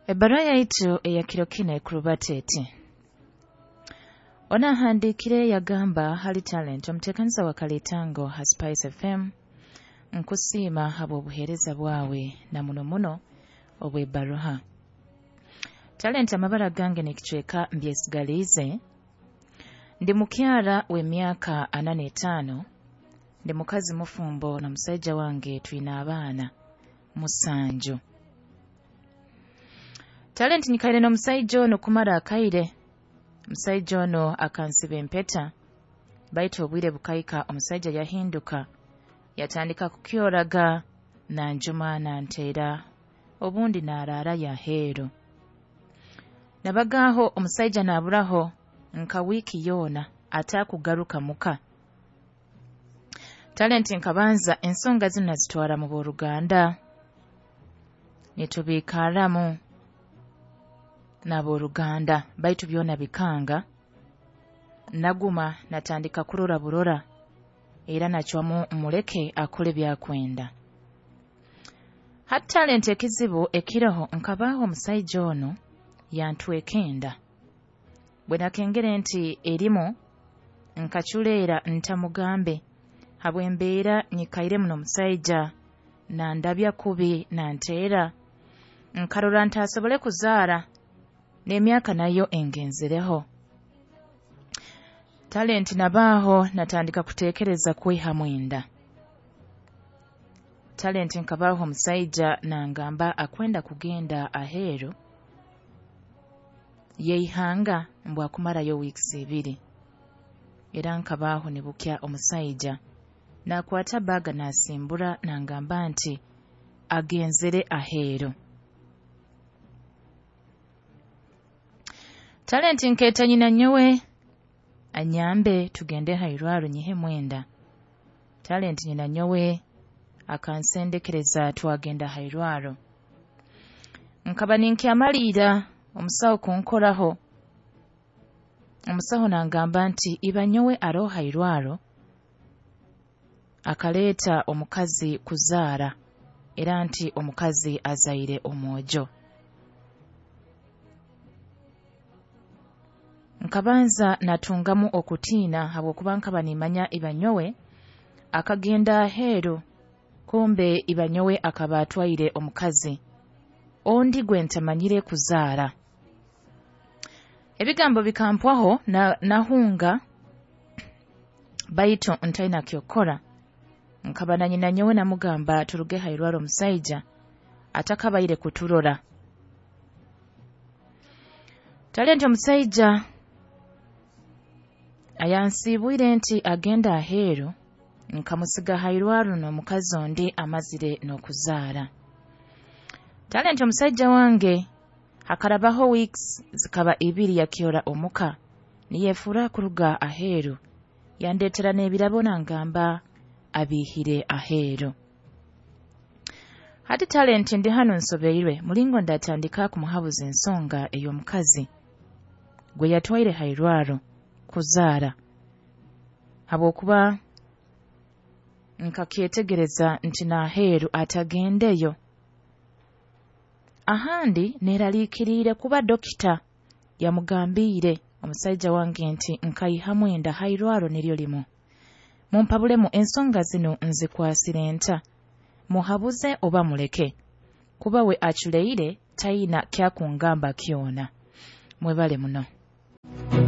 Ebbaruha yaitu eya kiro kinu ekurubata eti: Onahandiikire yagamba, "Hali Talent, omuteekaniza wa Kalitango ha Spice FM, nkusiima habw'obuheereza bwawe na muno muno obw'ebbaruha. Talent, amabara gange n'ekicweka mbyesigaliize. Ndi mukyara w'emyaka 45, ndi mukazi mufumbo na musaija wange, twine abaana 7. Talent, nyikaire n'omusaija onu kumara akaire. Omusaija onu akansiba empeta, baitu obwire bukahika omusaija yahinduka, yatandika kukyoraga, nanjuma, nanteera, obundi naaraarayo aheeru. Nabagaaho omusaija naaburaho nka wiiki yoona ataakugaruka muka. Talent, nkabanza ensonga zinu nazitwara mu b'oruganda, nitubiikaramu n'ab'oruganda, baitu byona bikanga. Naguma natandika kurora burora, era nacwamu muleke akole byakwenda. Hati Talent, ekizibu ekiroho, nkabaaho omusaija onu yantweka enda. Bwe nakengere nti erimu, nkaculeera ntamugambe habw'embeera nyikairemu n'omusaija nandabya kubi, nanteera. Nkarora ntasobole kuzaara, n'emyaka nayo engenzereho. Talent, nabaaho natandika kuteekereza kwihamu enda. Talent, nkabaaho omusaija nangamba akwenda kugenda aheeru yeihanga, mbw akumarayo weeks 2. Era nkabaaho nibukya omusaija nakwata bag nasimbura, nangamba nti agenzere aheeru. Talent, nkeeta nyina nyowe anyambe tugende hairwaro nyihemu enda. Talent, nyina nyowe akansendekereza twagenda hairwaro. Nkaba ninkyamaliira omusaho kunkoraho. Omusaho nangamba nti iba nyowe aroho hairwaro, akaleeta omukazi kuzaara, era nti omukazi azaire omwojo. Nkabanza natungamu okutiina habwokuba nkaba nimanya iba nyowe akagenda aheeru, kumbe iba nyowe akaba atwaire omukazi ondi gwe ntamanyire kuzaara. Ebigambo bikampwaho, nahunga, baitu ntaina kyokukora. Nkaba na nyina nyowe namugamba turuge hairwaro omusaija atakabaire kuturora. Talent, omusaija ayansiibwire nti agenda aheeru, nkamusiga hairwaro n'omukazi ondi amazire n'okuzaara. Talent, omusaija wange hakarabaho weeks zikaba 2 yakyora omuka, niyefuura kuruga aheeru, yandeetera n'ebirabo nangamba abiihire aheeru. Hati Talent, ndi hanu nsobeirwe mulingo ndatandika kumuhabuza ensonga ey'omukazi gwe yatwaire hairwaro kuzaara, habwokuba nkakyetegereza nti n'aheeru atagendeyo. Ahandi neraliikiriire kuba dokita yamugambiire omusaija wange nti nkaihamu enda hairwaro niryo limu. Mumpabulemu, ensonga zinu nzikwasire nta? Muhabuze oba muleke? Kuba we aculeire, taina kyakungamba kyona. Mwebale muno."